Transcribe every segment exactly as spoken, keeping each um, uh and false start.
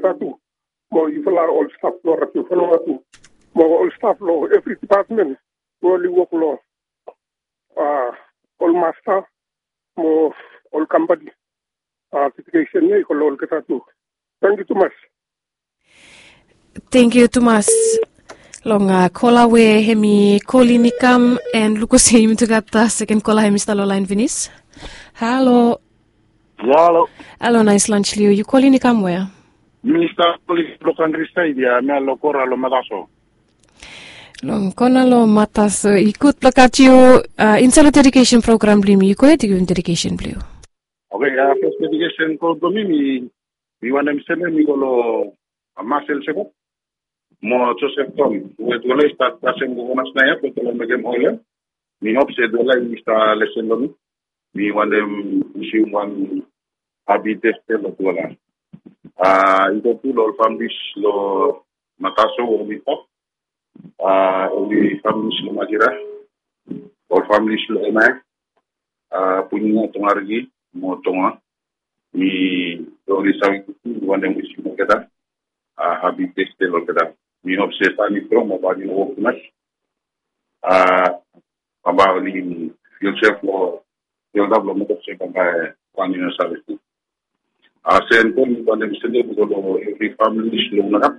Tatu, mo yufala ol staf long Radio Fanua tu, mo ol staf long evri depatmen we oli wok long, a, ol masta mo ol kampani. A, dedikesen ya i go long olgeta tu. Tangkiu tumas. Tangkiu tumas long, a, kola we hemi kolin i kam, and lukus yumi tu gat, a, seken kola hemi stap long laen finis. Halo. Halo. Halo, naes lans long yu. Yu kolin i kam wea? Mi stap kolin long kantri saed ya, mi ya long kona long Mataso. Long kona long Mataso, i gud blong gat yu, a, insaed long dedikesen program blong yumi. Yu gohed, yu givim dedikesen blong yu. Oke, a, fes dedikesen kol blong mi, mi, mi wantem sendem i go long, a, Marcel Jacob mo Joseph Tom, we tufala i stat kasem kokonas naoia, we tufala mekem oel ya. Mi hop se tufala i stap lesen long mi. Mi wantem wisim wan hapi Teste long tufala. A, i go tu long ol familis long Mataso, Wawintok, a, ol familis long Makira, ol familis long Emae, a, Punia, Tongariki mo Tonga. Mi oli save tu, mi wantem wisim olgeta, a, hapi Teste long olgeta. Mi hop se san i strong, bambae oli no wok tumas. A, bambae oli fil sef long, fil ap long mekem se bambae wan i no save tu. A, sendem, mi wantem sendem i go long evri familis long Nagat.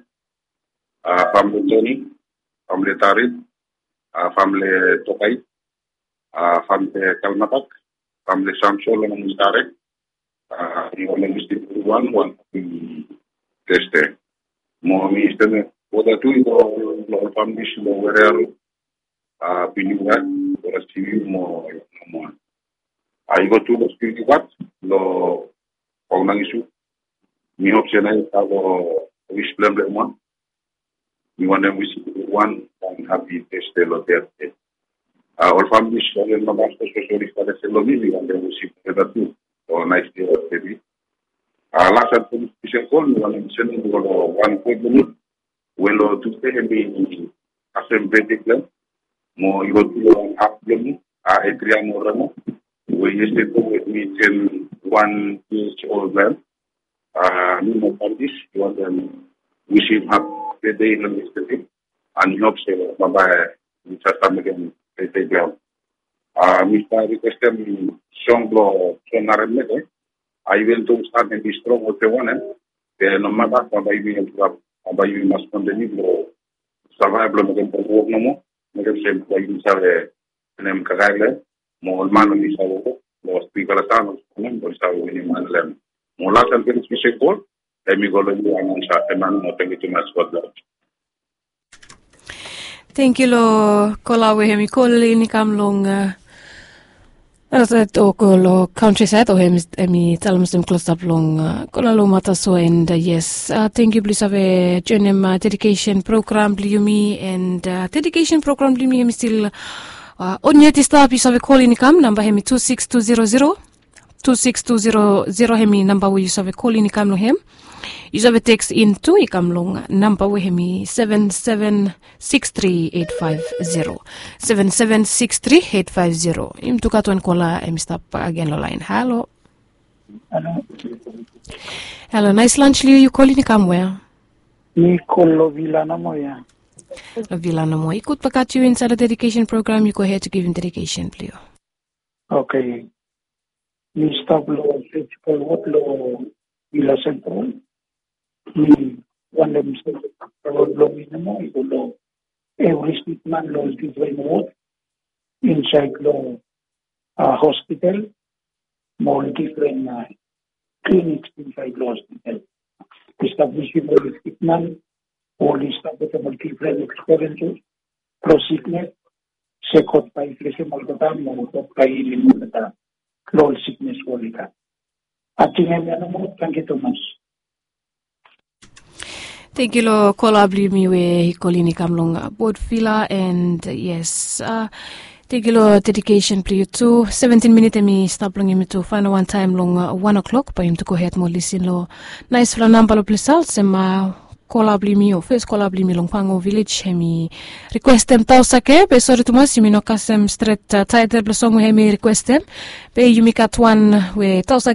A, famle Toni, famle Tarit, a, famle Tokai, a, famle Kalmatak, famle Samson long Mutare. A, mi wantem wisim wan, wan hapi Teste. Mo mi sendem wota tu i go long ol familis long Werero, a, Pinuka, Werero Sivi mo, mo. A, i go tu long Spiritu Gat long Paul Mangisu. Mi hop se naoia i stap long wis blong blong wan. Mi wantem wisim wan, wan hapi Teste long olgeta. A, ol familis, ol namba spesifik oli stap lesen long mi, mi wantem wisim olgeta tu ol naes dei long olgeta. A, las an folis spesel kol, mi wantem sendem i go long wan kol blong mi we long Tusde hemi kasem betde blong hem. Mo i go tu long wan haf blong mi, a, Adriano Remo, we yestede we hemi ten wan years old blong hem. A, mi mo familis, mi wantem wisim hapi betde long yestede. An mi hop se bambae i save mekem betde blong hem. A, mi stap rikwestem song blong John Aren Mete. A, even though stan hemi strong olsem wanem, be nomata, bambae yumi, bambae yumi mas kontiniu blong savaev blong mekem wok nomo. Mekem se bambae yumi save wanem, kakae blong hem, mo ol man oli save wok long spiritual san, ol man oli save winim han long hem. Mo las an folis spesel kol, hemi go long yu, anansa Eman, mo tangkiu tumas, God bless. Tangkiu long kola we hemi kolin i kam long, a, anasaed o go long kauntrisaed, o hemi, hemi talem olsem klosap long, a, kola long Mataso, and, a, yes, a, tangkiu blong yu save joenem, a, dedikesen program blong yumi, and, a, dedikesen program blong yumi hemi stil, a, on yet i stap. Yu save kolin i kam, namba hemi tu sikis tu zero zero, tu sikis tu zero zero, hemi namba we yu save kolin i kam long hem. Yu save teks in tu i kam long namba we hemi seven seven six three eight five zero, seven seven six three eight five zero. Yumi tu gat wan kola hemi stap bakegen long laen. Halo. Halo. Halo, naes lans long yu. Yu kolin i kam wea? Mi kol long Vila nomo ya. Long Vila nomo. I gud blong gat yu insaed long dedikesen program. Yu gohed, yu givim dedikesen blong yu. Oke. Mi stap long Surgical Ward long Vila Central. Mi wantem sendem wod blong mi nomo i go long evri sikman long difren wod insaed long, a, hospital mo ol difren, a, clinics insaed long hospital. Mi stap wisim ol sikman, oli stap wetem ol difren eksperienses blong siknes, se God bae i blesem olgeta mo God bae i hilim olgeta long ol siknes we oli gat. Ating hemia nomo, tangkiu tumas. Tangkiu long kola blong yumi we i kolin i kam long, a, Port Vila, and, a, yes, a, tangkiu long dedikesen blong yu tu. Seventin minit hemi stap long yumi tu faenem wantaem long, a, wan o'clock, bae yumi tu gohed mo lisin long naesfala namba long ples ya, olsem, a, kola blong yumi, o fes kola blong yumi long Pango Vilej, hemi rikwestem Taosake, be sori tumas yumi no kasem stret, a, taetel blong song we hemi rikwestem. Be yumi gat wan we Taosake